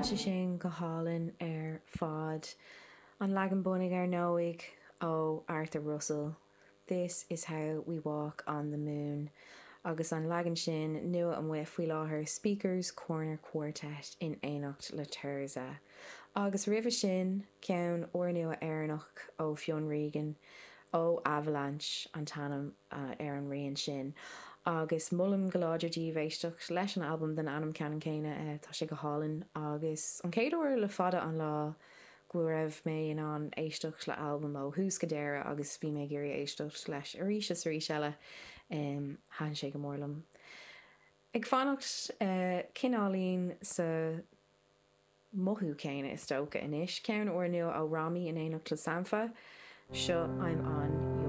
Tá sé sin go hálainn ar fad. An leagan bunaidh ar ndóigh ó Arthur Russell, This is how we walk on the moon agus an leagan sin nua amuigh faoi láthair Speakers Corner Quartet in éineacht le Tirzah. Agus roimhe sin, ceann úrnua Éireannach ó Fionn Regan, ó Avalanche an t-ainm ar an rian sin. Agus molaim go láidir daoibh éisteacht leis an albam den ainm ceannann céanna, tá sé go hálainn agus an chéad uair le fada an lá go raibh mé in ann éisteacht le albam ó thús go deireadh agus bhí mé ag iarraidh éisteacht leis arís is arís eile. Thaitin sé go mór liom. Ag fanacht cineáilín sa mothú céanna is dócha anois, ceann úrnua ó Rami in éineacht le Sampha, seo I'm On Your.